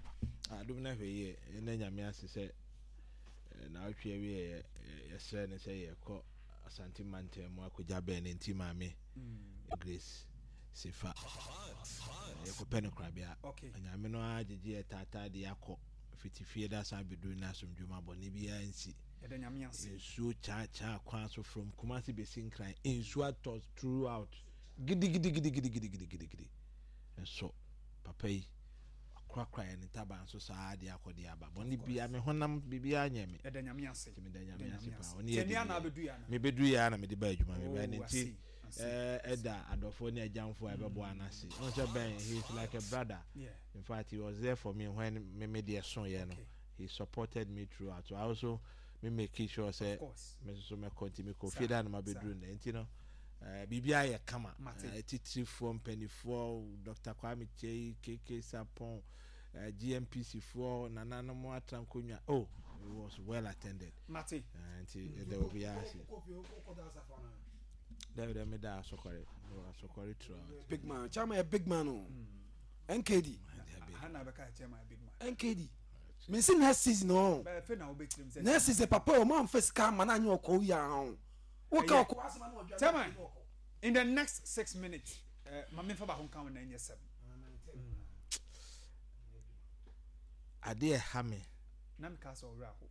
[SPEAKER 4] Adom no ahwɛ yie. Ɛnɛ Nyame ase sɛ eh, na wotwe awie yɛsrɛ ne sɛ yɛkɔ Asante mantam mu akɔgya bɛn ne nti Maame Grace Sefa. Eh, yɛkɔpɛ no korabea.
[SPEAKER 2] Okay.
[SPEAKER 4] Nyame no ara gyegye yɛ taataa de akɔ fitifie da san bɛduru no asomdwom abɔne biara nsi.
[SPEAKER 2] Yɛda Nyame ase.
[SPEAKER 4] Nsuo kyaakyaa kwan so from Kumasi bɛsi Nkran, nsuo atɔ throughout gidigidigidigidigidigidi. Nso papa yi akorakora yɛ ne ntaban so saa de akɔ de aba bɔne bia me honam biribiara nyɛ me.
[SPEAKER 2] Yɛda Nyame ase.
[SPEAKER 4] Nti meda Nyame
[SPEAKER 2] Yɛda
[SPEAKER 4] ase
[SPEAKER 2] Nyame
[SPEAKER 4] paa.
[SPEAKER 2] ase.
[SPEAKER 4] Ɔne yɛ
[SPEAKER 2] Kyɛ nea na
[SPEAKER 4] di
[SPEAKER 2] abɛdu yɛ ana?
[SPEAKER 4] mebɛduru yɛ a na mede ba adwuma mebɛɛ
[SPEAKER 2] Oh,
[SPEAKER 4] ne
[SPEAKER 2] I
[SPEAKER 4] nti
[SPEAKER 2] see, I see.
[SPEAKER 4] ɛɛ, ɛda adɔfoɔ ne agyamfoɔ a ɛbɛboa no ase ɔn sɛ bɛn he is like a brother.
[SPEAKER 2] Yeah.
[SPEAKER 4] In fact, he was there for me when me me deɛ so yɛ no.
[SPEAKER 2] Okay.
[SPEAKER 4] He supported me throughout, so I also me make sure sɛ
[SPEAKER 2] Of course.
[SPEAKER 4] me nso so mɛkɔ nti mekɔ
[SPEAKER 2] Saa,
[SPEAKER 4] fie da na
[SPEAKER 2] saa.
[SPEAKER 4] mabɛduru nnɛ nti no eh, biribiara yɛ kama.
[SPEAKER 2] Mate.
[SPEAKER 4] Eh, titirifoɔ mpanimfoɔ, Doctor Kwame Kyei, K K Sapon, eh, G M P C foɔ, nananom atra nkonnwa. Oh, it was well attended.
[SPEAKER 2] Mate.
[SPEAKER 4] Eh, nti ɛda obiara ase. Dɛbi dɛ meda asɔkɔre, mewɔ asɔkɔre throughout.
[SPEAKER 3] Big man, chairman yɛ big man o, N K D.
[SPEAKER 4] Dabi.
[SPEAKER 2] Ha na bɛka chairman big man.
[SPEAKER 3] N K D, mesi next season o.
[SPEAKER 2] Bɛɛ fɛ na wobɛtirim sɛ
[SPEAKER 3] Next season papa o, mo anfɛ sika ama na anyɛ ɔkɔ yi ahɔn woka
[SPEAKER 2] Ɛyɛ.
[SPEAKER 3] ɔkɔ asɛm ano ɔdwa.
[SPEAKER 2] Chairman, in the next six minutes, uh, ma memfa baako nka wo na ɛnyɛ seven.
[SPEAKER 4] Adeɛ ɛha me.
[SPEAKER 2] Na meka sɛ ɔwerɛ aho.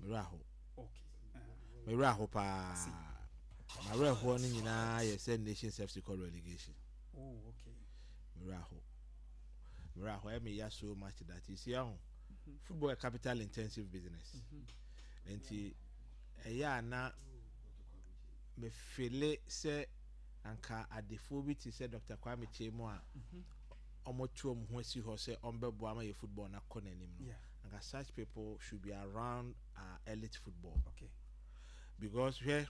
[SPEAKER 4] Mmerɛ aho.
[SPEAKER 2] Okay. Uh,
[SPEAKER 4] Mmerɛ aho paa. Mawerɛhoɔ no nyinaa yɛ sɛ Nations F C kɔ relegation.
[SPEAKER 2] Oh, okay.
[SPEAKER 4] Mmerɛ aho, mmerɛ aho, ɛyɛ me ya so much that you see aho football yɛ capital intensive business nti ɛyɛ a na mefele sɛ anka adefoɔ bi te sɛ Doctor Kwame Kyei mu a ɔmoto ɔmo ho asi hɔ sɛ ɔmbɛboa ama yɛ football no akɔ n'anim no,
[SPEAKER 2] Yeah.
[SPEAKER 4] anka such people should be around our elite football
[SPEAKER 2] Okay.
[SPEAKER 4] because hwɛ,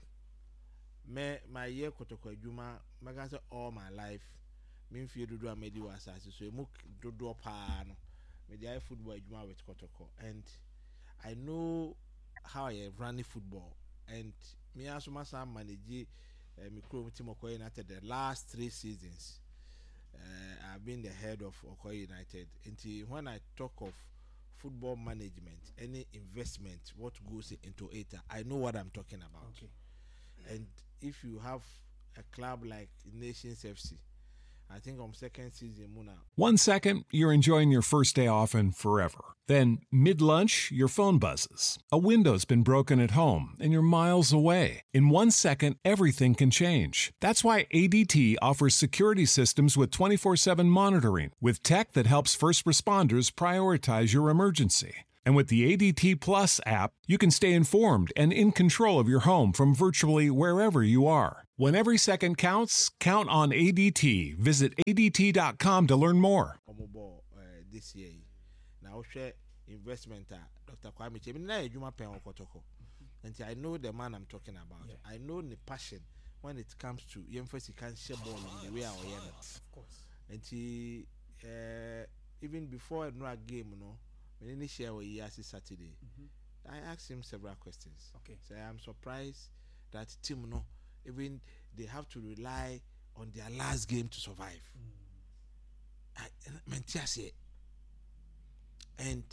[SPEAKER 4] me mayɛ Kɔtɔkɔ adwuma, mɛka sɛ all my life, me mfie dodoɔ a madi wɔ asase so emu dodoɔ paa no mede ayɛ football adwuma with Kɔtɔkɔ, and I know how I run football, and me nso masan manage uh, me kurom team Okwahu United. The last three seasons uh, I've been the head of Okwahu United. Nti when I talk of football management, any investment, what goes into it, I know what I'm talking about.
[SPEAKER 2] Okay.
[SPEAKER 4] And if you have a club like Nations F C, I think on second season mu na
[SPEAKER 5] One second, you're enjoying your first day off and forever. Then, mid lunch, your phone buzzes. A window's been broken at home and you're miles away. In one second, everything can change. That's why A D T offers security systems with twenty-four seven monitoring, with tech that helps first responders prioritize your emergency. And with the A D T Plus app, you can stay informed and in control of your home from virtually wherever you are. When every second counts, count on A D T. Visit A D T dot com to learn more.
[SPEAKER 4] Ɔmo bɔ ɛɛ this year yi na wohwɛ investment a Doctor Kwame Kyei mi na yɛ adwuma pɛn wɔ Kɔtɔkɔ, nti I know the man I'm talking about.
[SPEAKER 2] Yeah.
[SPEAKER 4] I know the passion when it comes to yɛmfa sika nhyɛ bɔɔl mu, the way a ɔyɛ no.
[SPEAKER 2] Of course.
[SPEAKER 4] Nti ɛɛ even before ɛnura game no, me ne ne share wɔ yi ase Saturday, I asked him several questions.
[SPEAKER 2] Okay.
[SPEAKER 4] So I am surprised that team no, even they have to rely on their last game to survive. I mente aseɛ, and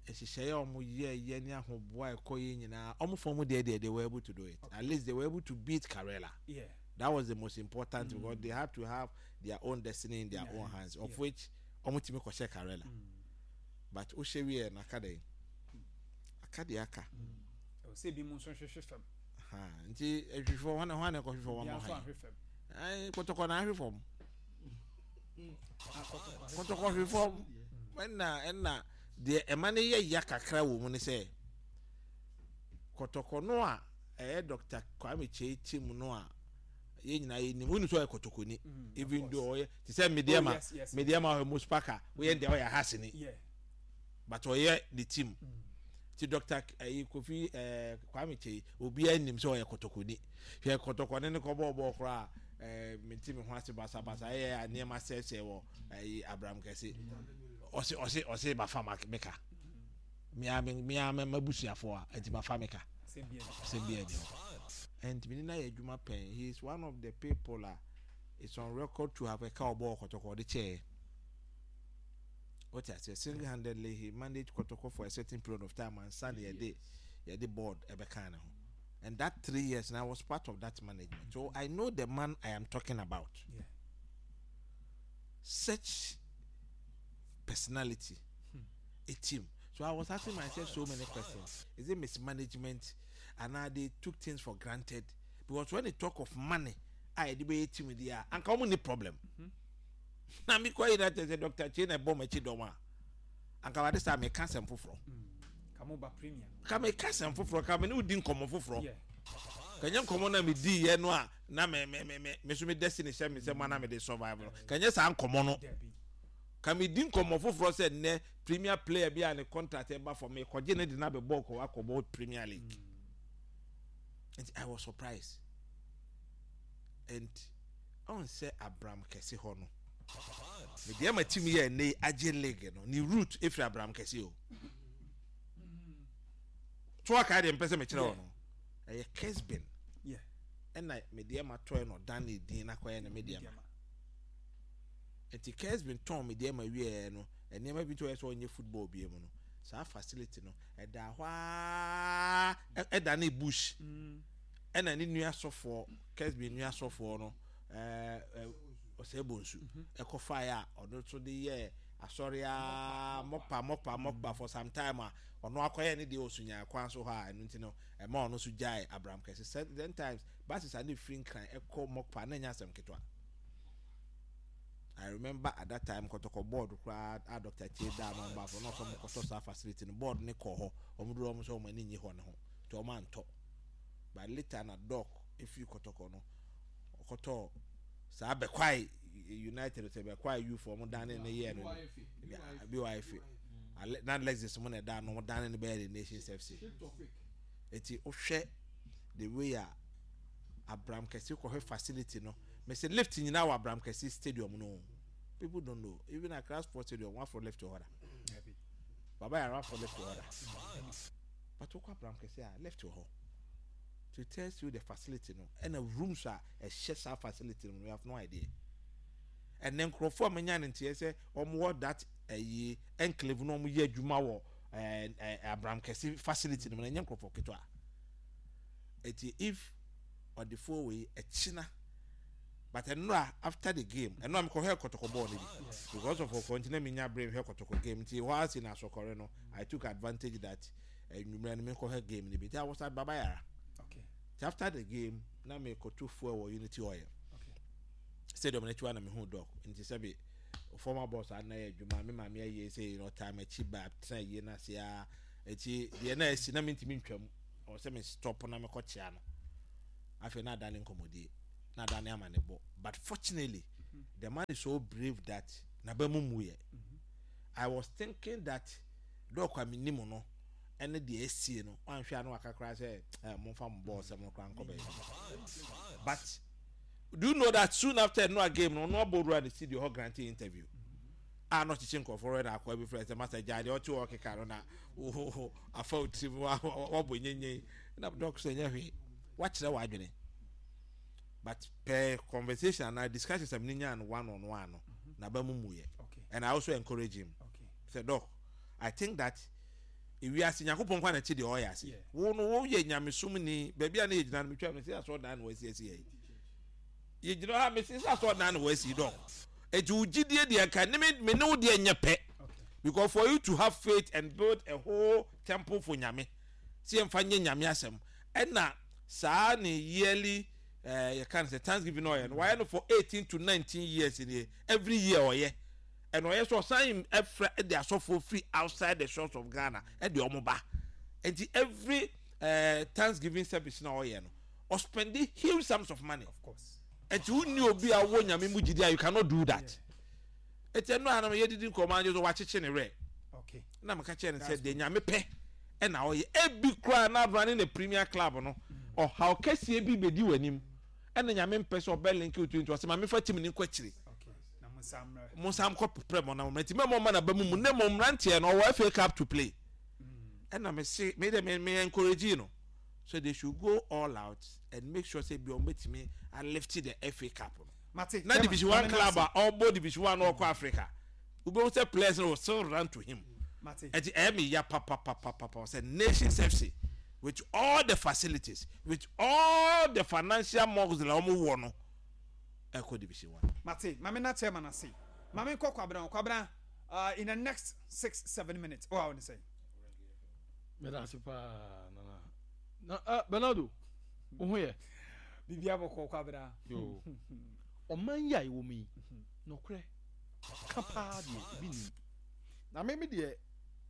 [SPEAKER 4] nhyehyɛeɛ a wɔn yɛ yɛ ne ahoboa a ɛkɔ yɛ nyinaa, wɔn fɔm deɛ deɛ they were able to do it. At least they were able to beat Karela.
[SPEAKER 2] Yeah.
[SPEAKER 4] That was the most important mm. because they had to have their own destiny in their
[SPEAKER 2] Yeah.
[SPEAKER 4] own hands, of
[SPEAKER 2] Yeah.
[SPEAKER 4] which wɔn tumi kɔhyɛ Karela. But o hyɛ wie na aka de aka de aka.
[SPEAKER 2] Ɛwɔ sɛ ebi mu nso hwehwɛ fam.
[SPEAKER 4] Ha, nti ehwehwɛ wɔn na wɔn na ɛkɔhwehwɛ wɔn
[SPEAKER 2] Obiara
[SPEAKER 4] mo
[SPEAKER 2] nso
[SPEAKER 4] han
[SPEAKER 2] ahwɛ fam.
[SPEAKER 4] Ɛɛ Kɔtɔkɔ na ahwɛ fam.
[SPEAKER 2] Ah, Kɔtɔkɔ ahwɛ.
[SPEAKER 4] Kɔtɔkɔ hwɛ fam, ɛna ɛna deɛ ɛma ne yɛ ya kakra wɔ mu ne sɛ Kɔtɔkɔ no a ɛyɛ Doctor Kwame Kyei team no a yɛn nyinaa yɛ nim wonu sɛ ɔyɛ Kɔtɔkɔni,
[SPEAKER 2] Mm, of
[SPEAKER 4] even
[SPEAKER 2] course.
[SPEAKER 4] though ɔyɛ te sɛ Medeama.
[SPEAKER 2] Oh, yes, yes.
[SPEAKER 4] Medeama ɔyɛ Muspaka, woyɛ deɛ ɔyɛ Hasini,
[SPEAKER 2] Yeah.
[SPEAKER 4] but ɔyɛ ne team ti Doctor ɛyi Kofi ɛɛ Kwame Kyei, obiara nim sɛ ɔyɛ Kɔtɔkɔni. Hwɛ, Kɔtɔkɔni ne kɔ bɔɔ bɔɔ koraa, ɛɛ menti mi ho ase basabasa, ɛyɛ a nneɛma sɛɛsɛɛ wɔ ɛyi Abraham Kɛse, ɔsi ɔsi ɔsi bafa ma meka mia mi mia mɛ mabusuafoɔ a nti bafa meka.
[SPEAKER 2] Sɛ bia ni.
[SPEAKER 4] Sɛ bia ni hɔ, and mi ni na yɛ adwuma pɛn. He is one of the people a it's on record to have ɛka ɔbɔ Kɔtɔkɔ ɔde kyɛɛ. What I say, single handedly he managed Kɔtɔkɔ for a certain period of time and san yɛde yɛde board ɛbɛka ne ho, and that three years and I was part of that management, so I know the man I am talking about.
[SPEAKER 2] Yeah.
[SPEAKER 4] Such personality, a team. So I was asking myself so many questions. Is it mismanagement and now they took things for granted? Because when they talk of money, I debate team with the and come any problem na mi kɔ yi na kyerɛ sɛ Doctor Kyei na ɛbɔ m'akyi dɔm a, anka wade saa meka asɛm foforɔ.
[SPEAKER 2] Ka mo ba Premier.
[SPEAKER 4] Ka meka asɛm foforɔ, ka me ne wodi nkɔmmɔ foforɔ.
[SPEAKER 2] Yeah.
[SPEAKER 4] Kanyɛ nkɔmmɔ na medi yɛ no a, na me me me me me so me destiny hyɛ me sɛ ma na mede survive no, kanyɛ saa nkɔmmɔ no.
[SPEAKER 2] Dabi.
[SPEAKER 4] Ka medi nkɔmmɔ foforɔ sɛ nnɛ premier player bi a ne contract ɛba for me kɔgye ne de na bɛbɔ kɔ akɔbɔ Premier League. Nti I was surprised, and ɔn sɛ Abraham Kɛse hɔ no, mede ama team yɛ ɛnɛ yi agye league no, ne root efiri Abraham Kɛse o. To aka deɛ mpɛ sɛ mekyerɛ wɔ no, ɛyɛ Kesbin.
[SPEAKER 2] Yeah.
[SPEAKER 4] Ɛna mede ama tɔɛ no, ɔdan ne din na kɔyɛ ne mede ama. Nti Kesbin tɔn mede ama wieɛ no, nneɛma bi to ɔyɛ sɛ ɔnyɛ football bie mu no, saa facility no ɛda hɔ aa, ɛ- ɛda ne bush.
[SPEAKER 2] Mm.
[SPEAKER 4] Ɛna ne nua sɔfoɔ, Kesbin nua sɔfoɔ no, ɛɛ ɛ ɔsɛ bonsu ɛkɔfaeɛ a ɔno nso de yɛ asɔre a mɔpa mɔpa mɔpa for some time a ɔno akɔyɛ ne deɛ osunya kwan so hɔ a, ɛno nti no ɛma ɔno nso gyae Abraham Kɛse. Sɛ then times buses a ne firi Nkran ɛkɔ Mɔkpa na ɛnyɛ asɛm ketewa. I remember at that time Kɔtɔkɔ board koraa a Doctor Kyei daa no ɔba fo na ɔsɛ ɔmo kɔtɔ saa facility no, board ne kɔ hɔ, ɔmo duro, ɔmo sɛ ɔmo ani nye hɔ ne ho nti ɔmo antɔ. But later na doc efiri Kɔtɔkɔ no ɔkɔtɔ saa Bɛkwae United sɛ Bɛkwae youth, ɔmo dan ne ne yɛ no B Y F, Ale- na Lexus mo na ɛda no, ɔmo dan ne bɛyɛ the Nations F C. Eti wohwɛ the way a Abraham Kɛse kɔhwɛ facility no, mɛ lift nyinaa wɔ Abraham Kɛse Stadium no, people don't know. Even Accra Sports Stadium wafɔ lift wɔ hɔ da?
[SPEAKER 2] Dabi.
[SPEAKER 4] Baba Yara wafɔ lift wɔ hɔ da? But wokɔ Abraham Kɛse a, lift wɔ hɔ. To tell you the facility no, ɛna rooms a ɛhyɛ saa facility no, you have no idea. Ɛnɛ nkurɔfoɔ a menya ne nteɛ sɛ wɔn wɔ that ɛyi enclave no, wɔn yɛ adwuma wɔ ɛɛ ɛɛ Abraham Kɛse facility no mu na ɛnyɛ nkurɔfoɔ ketewa. Eti if ɔdefoɔ wei ɛkyina, but ɛnura after the game, ɛnura mi kɔhwɛ Kɔtɔkɔ bɔɔl no bi because of ɔkɔ nti na mi nya brain hwɛ Kɔtɔkɔ game. Nti hɔ ase na asɔkɔre no, I took advantage that ɛnwummerɛ no mi kɔhwɛ game no bi, nti I was at Baba Yara.
[SPEAKER 2] Okay.
[SPEAKER 4] Nti after the game na mi kɔto fuel wɔ Unity Oil
[SPEAKER 2] Okay.
[SPEAKER 4] stadium n'akyi wa na mi hu doc. Nti sɛbi Former boss ana yɛ adwuma, me maame ayie sɛ ɔtaa m'akyi ba tena yie no ase a, ɛti deɛ na asi na mentumi ntwam, ɔwɔ sɛ me stop na mekɔkyea no. Afei na adane nkɔmmɔdie na adane ama ne bɔ, but fortunately the man is so brave that n'aba mu muyɛ. I was thinking that Doc a menim no ɛne deɛ esie no, wanhwɛ a na waka koraa sɛ ɛ momfa mo bɔɔl sɛm no koraa nkɔ baabi. But do you know that soon after no game no, ɔno abɔ wura ne studio hɔ granting interview a na ɔkyekye nkurɔfoɔ rɛ na akɔ bi frɛ sɛ masa gya deɛ ɔte hɔ keka no na afa wo tirim wabɔ nyenyen na Doc sɛ nyɛ hwee, wakyerɛ w'adwene. But per conversation and discussion sɛ mene nyaa no one on one no, n'aba mu muyɛ. And I also encourage him sɛ, "Doc, I think that ewiase Nyankopɔn kwan na ɛkyi deɛ ɔyɛ ase. Wo no woyɛ nyamesom ni, baabi a na yɛgyina no, metwa no sɛ asɔɔdan na wɔasi asi yɛ yɛgyina ha mesi sɛ asɔɔdan na wɔasi. Doc, eti wo gyidie deɛ nka ne me me ne wo deɛ nyɛ pɛ, because for you to have faith and build a whole temple for Nyame sɛ yɛmfa nyɛ Nyame asɛm, ɛna saa ne yearly ɛɛ yɛka no sɛ thanksgiving na ɔyɛ no, wayɛ no for eighteen to nineteen years nie, every year ɔyɛ. Ɛna ɔyɛ sɛ ɔsan ɛfrɛ ɛde asɔfoɔ firi outside the shores of Ghana ɛde ɔmo ba. Nti every ɛɛ thanksgiving service na ɔyɛ no, ɔspend huge sums of money.
[SPEAKER 2] Of course.
[SPEAKER 4] Nti wunni obi a wɔ Nyame mu gyidi a, you cannot do that. Eti ɛno anam yɛdidi nkɔmɔ anyo so wakyekye ne werɛ.
[SPEAKER 2] Okay.
[SPEAKER 4] Na meka kyerɛ no sɛ deɛ Nyame pɛ ɛna ɔyɛ. Ebi koraa na running the premier club no, ɔhaw kɛseɛ bi bɛdi w'anim, ɛna Nyame mpɛ sɛ ɔbɛ link wo to, nti ɔsɛ maame fa team ne nkɔ akyire.
[SPEAKER 2] Okay. Na mo nsa mmerɛ.
[SPEAKER 4] Mo nsa nkɔ prepare mo na mo nti mɛmɔ ma na ba mu mu ne mo mmeranteɛ no ɔwɔ F A Cup to play. Ɛna me se me de me me encourage no so they should go all out and make sure say bi ɔmo betumi a lift the F A Cup no.
[SPEAKER 2] Mate.
[SPEAKER 4] Na Division One club a ɔbɔ Division One na ɔkɔ Africa, wobɛhu sɛ players no will still run to him.
[SPEAKER 2] Mate.
[SPEAKER 4] Ɛti ɛyɛ me ya papapapapa sɛ Nations F C, with all the facilities, with all the financial muscle a wɔn wɔ no, ɛkɔ Division One.
[SPEAKER 2] Mate. Maame na chairman ase. Maame nkɔ Kwabena. Kwabena, uh, in the next six seven minutes. Oh, I want to say.
[SPEAKER 1] Meda ase paa, Nana na uh, Bernardo, wo ho yɛ?
[SPEAKER 2] Bibi abɔkɔ, Kwabena.
[SPEAKER 1] Yo, ɔman yi a ɛwɔ mu yi, nɔkorɛ ka paa deɛ ebi nim na me me deɛ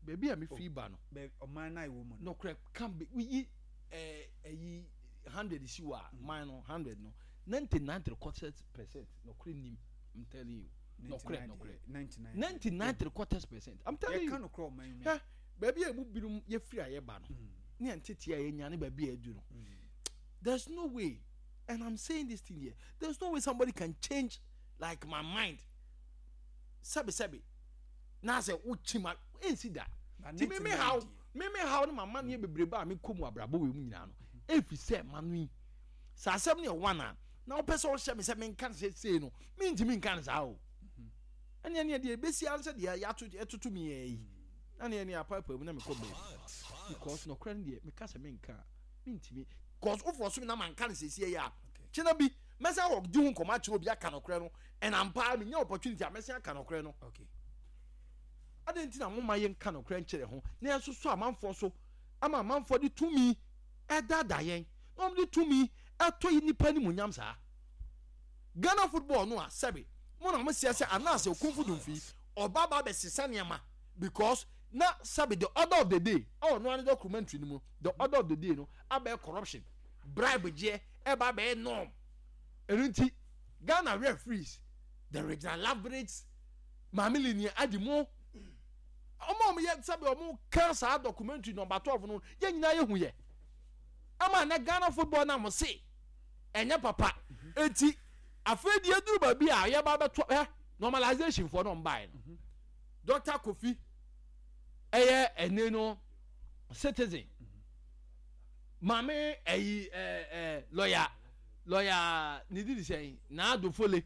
[SPEAKER 1] baabi a mefiri ba no.
[SPEAKER 2] Bɛ ɔman na ɛwɔ mu no.
[SPEAKER 1] Nɔkorɛ ka be yi ɛɛ ɛyi hundred si wɔ a, man no hundred no, ninety nine three quarters percent nɔkorɛ nim. I'm telling you, nɔkorɛ, nɔkorɛ.
[SPEAKER 2] Ninety nine.
[SPEAKER 1] Ninety nine three quarters percent, I'm telling you.
[SPEAKER 2] Yɛka nokorɛ ɔman mu.
[SPEAKER 1] Hwɛ, baabi a emu binom yɛfiri a yɛba no ne yɛn tete a yɛnya ne baabi a yɛdu no, there's no way, and I'm saying this thing here, there's no way somebody can change like my mind. Sɛbi sɛbi na sɛ wokyi ma ɛnsi da. Ti mi mi haw, mi mi haw ne ma ma neɛ bebrebe a mi kɔ mu abrabɔ wɔ mu nyinaa no, efi sɛ ma no yi sɛ asɛm no yɛ one a na wopɛ sɛ ɔhyɛ mi sɛ mi nka no sɛ sei no, mi ntumi nka no saa o. Ɛne ɛne deɛ ebesi ansɛ deɛ yɛato ɛtoto mi yɛ yi na ne ɛne apaapa mu na mi kɔ baabi, because nɔkorɛ no deɛ, mi ka sɛ mi nka a, mi ntumi, cause wofoɔ so mi na ma nka no sɛsie yɛ a, kyena bi mɛsɛn wɔ di ho nkɔmɔ akyerɛ obi aka nɔkorɛ no, ɛna mpa mi nya opportunity a mɛsɛn aka nɔkorɛ no.
[SPEAKER 2] Okay.
[SPEAKER 1] Adi nti na mo ma yɛn ka nɔkorɛ nkyerɛ ho na yɛn soso amanfoɔ so ama amanfoɔ de tumi ɛdaadaa yɛn na wɔn de tumi ɛtɔ yi nipa ne mu nyam saa Ghana football no a, sɛbi mo na mo seɛ sɛ anaasɛ Okunfo Dumfi ɔba ba bɛsesa nneɛma, because na sɛbi the order of the day ɛwɔ no ano documentary no mu, the order of the day no abɛyɛ corruption, bribe gyeɛ ɛba abɛyɛ norm. Ɛno nti Ghana referees, the regional leverage, maame linia adi mo ɔmo a ɔmo yɛ sɛbi ɔmo ka saa documentary number twelve no, yɛn nyinaa yɛ hu yɛ ama na Ghana football na mo se ɛnyɛ papa. Eti afei deɛ eduru baabi a yɛba abɛto ɛ normalization foɔ no ɔmo no, Doctor Kofi ɛyɛ ɛne no citizen maame ɛyi ɛɛ ɛɛ lawyer lawyer ne didi sɛn naadofole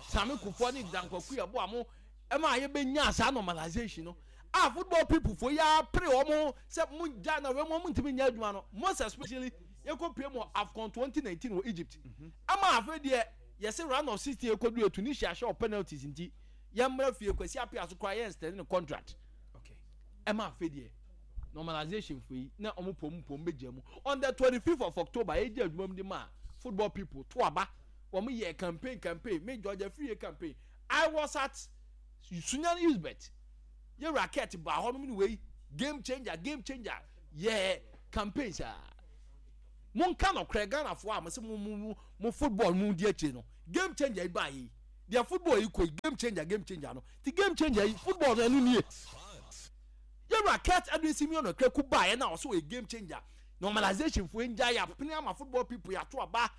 [SPEAKER 1] Sami Kufuor ne Dankwaku yɛ bo a mo ɛma yɛbɛnya saa normalization no a, football people fo yɛ apere wɔn sɛ mo gya na wɔn mo ntumi nyɛ adwuma no, most especially yɛkɔ pie mu AFCON twenty nineteen wɔ Egypt, ama afei deɛ yɛsɛ round of sixteen yɛkɔ du Tunisia hyɛ wɔ penalties, nti yɛmmra fie. Kwasi Appiah so koraa yɛn extend ne contract.
[SPEAKER 2] Okay.
[SPEAKER 1] Ɛma afei deɛ normalization fo yi na ɔmo pom pom bɛgya mu on the twenty fifth of October. Yɛgye adwuma mu de ma football people to aba, wɔn yɛ campaign campaign me George Afriyie campaign. I was at Sunyani Usbet yɛ racket ba hɔ nom ne wei game changer, game changer, yɛ campaign saa. Monka nɔkorɛ, Ghanafoɔ a mo sɛ mo mo mo football mo di akyire no, game changer yi ba yi deɛ, football yi kɔ yi, game changer, game changer no ti, game changer yi, football no ɛno nie. Yɛ racket Edwin Simeon Okraku ba yɛ na ɔso yɛ game changer. Normalization fo ngya yɛ apene ama football people yɛato aba.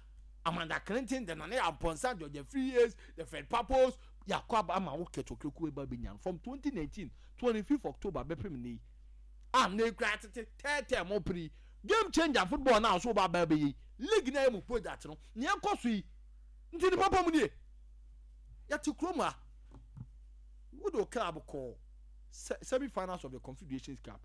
[SPEAKER 1] Amanda Clinton de Nana Amponsa, George Free, the Fred Papos, yɛakɔ aba ama wo Kurt Okraku eba bɛnya from twenty nineteen twenty-fifth October bɛpem ne yi a ne kura tete tɛɛtɛɛ mo pere game changer. Football na ɔso ba ba bɛyɛ league na yɛ mu project no nea ɛkɔ so yi nti ne papa mu nie. Yɛte kurom a wode o club kɔ semi finals of the Confederations Cup,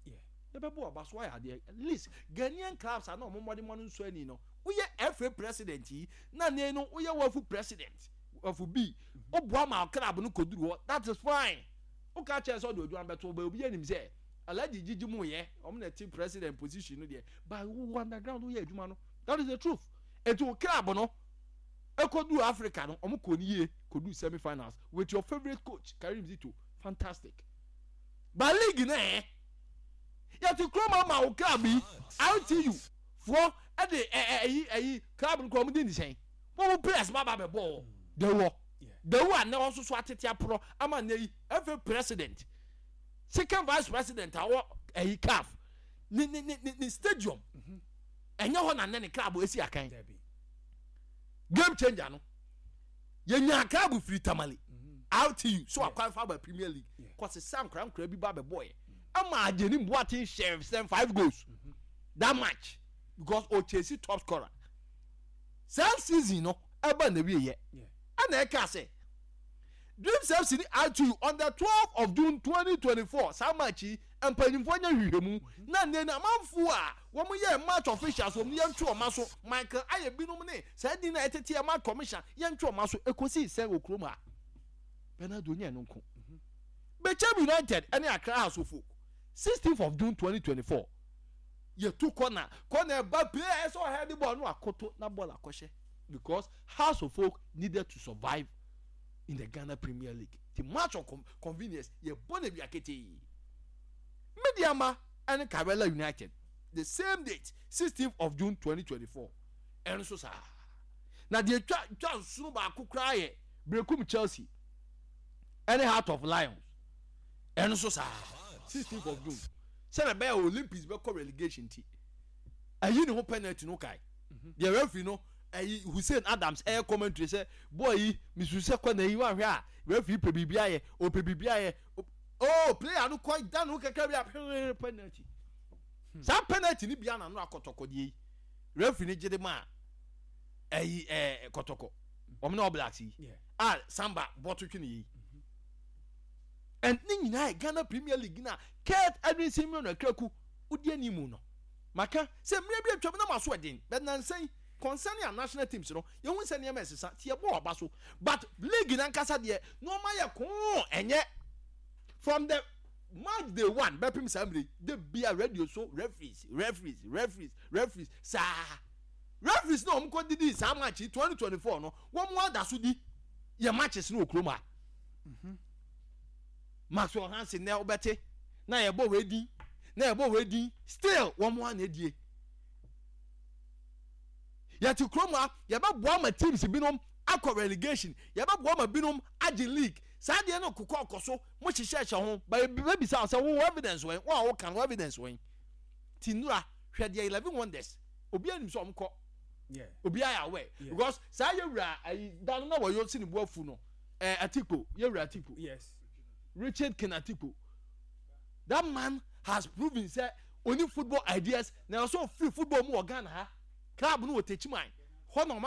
[SPEAKER 1] yɛbɛbɔ ɔba so ayɛ adeɛ. At least Ghanaian clubs a na ɔmo mmɔde mmɔde nso ani no, woyɛ F A president yi na ne no woyɛ WAFU president, WAFU B, woboa ma club no kɔduru hɔ, that is fine. Woka kyerɛ sɛ ɔde odwan bɛto ɔbɛ obi anim sɛ Alhaji gyigyi mu yɛ ɔmo na ti president position no deɛ, but wo underground woyɛ adwuma no, that is the truth. Etu wo club no ekodu Africa no, ɔmo kɔ ne yie kɔdu semi finals with your favourite coach Karim Zito, fantastic. But league na ɛ yɛte kurom ama wo club yi, R T U foɔ ɛde ɛ ɛ ɛyi ɛyi club no kɔ, ɔmo di ne sɛn wɔn mo players ba ba bɛ bɔ dewɔ dewu a ne nso so atete aporɔ ama ne yi F A president, second vice president awɔ ɛyi CAF ne ne ne ne stadium ɛnyɛ hɔ na ne ne club esi akan. Game changer no, yɛnya club firi Tamale, R T U so akwan fa aba Premier League kɔsesa nkora nkora bi ba bɛ bɔ yɛ ama Agyeni Boateng hyɛ sɛn five goals that match because o chase top scorer. Saa season no ɛba na wie yɛ ɛna ɛka sɛ Dreams F C ni R T U on the twelve of June twenty twenty-four. Saa match yi mpanyinfoɔ nyɛ hwehwɛmu na nne na amanfoɔ a wɔn yɛ match officials, wɔn yɛn ntwe wɔn aso. Michael ayɛ binom ne saa din na ɛtete yɛ match commission, yɛn ntwe wɔn aso. Ekosi sɛn wɔ kurom ha? Bernard onye no nko. Bechem United ɛne Accra Hearts of Oak, sixteenth of June twenty twenty-four, yɛtu corner, corner ɛba, player ɛsɛ ɔhɛ de ball no akoto na ball akɔhyɛ because Hearts of Oak needed to survive in the Ghana Premier League. The match of com convenience yɛ bɔ na wia ketee. Medeama ɛne Karela United, the same date, sixteenth of June twenty twenty-four, ɛno nso saa. Na deɛ twa twa nsono baako koraa yɛ Berekum Chelsea ɛne Heart of Lions, ɛno nso saa, sixteenth of June, sɛnɛ bɛyɛ Olympics bɛkɔ relegation ti ɛyi ne ho penalty no kae deɛ referee no ɛyi Hussein Adams ɛyɛ commentary sɛ boy yi misu sɛ kɔ na yi wahwɛ a referee pɛ biribi ayɛ, ɔpɛ biribi ayɛ. Oh, player no kɔ dan no kakra bi a pɛrɛ penalty. Saa penalty ni bia na no akɔtɔkɔ deɛ yi referee ni gye de ma ɛyi ɛɛ Kɔtɔkɔ wɔn na All yi a Samba bɔto twene yi. And ne nyinaa yɛ Ghana Premier League na Kurt Edwin Simeon Okraku wodi anim no. Maka sɛ mmerɛ bi atwam na ma so ɛden, but nansan concerning our national teams no, yɛhu sɛ nneɛma ɛsesa ti yɛbɔ ɔba so, but league nankasa deɛ nneɛma yɛ koo. Ɛnyɛ from the match day one bɛpem saa mmerɛ de bia radio so referees, referees, referees, referees. Saa referees na wɔn kɔ didi saa match yi twenty twenty four no, wɔn mu ada so di yɛ matches no wɔ kurom ha. Maxwell Hansen na ɔbɛte na yɛbɔ wei din na yɛbɔ wei din, still wɔn mu ana edie. Yɛte kurom ha, yɛbɛboa ma teams binom akɔ relegation, yɛbɛboa ma binom agye league. Saa deɛ no kokɔ ɔkɔ so mo hyehyɛ hyɛ ho ba bɛbisa sɛ wo evidence wɛn, wo a woka no evidence wɛn? Ti nura hwɛ deɛ Eleven Wonders, obi anim sɛ ɔmo kɔ, obi ayɛ aware because saa yɛwura ayi dan no na wɔyɛ si ne bu afu no ɛɛ Atikpo, yɛwura Atikpo.
[SPEAKER 2] Yes.
[SPEAKER 1] Richard Ken Atikpo, that man has proven sɛ oni football ideas na ɔsɔ free football mu wɔ Ghana ha. Club no wɔ Techiman hɔ na ɔma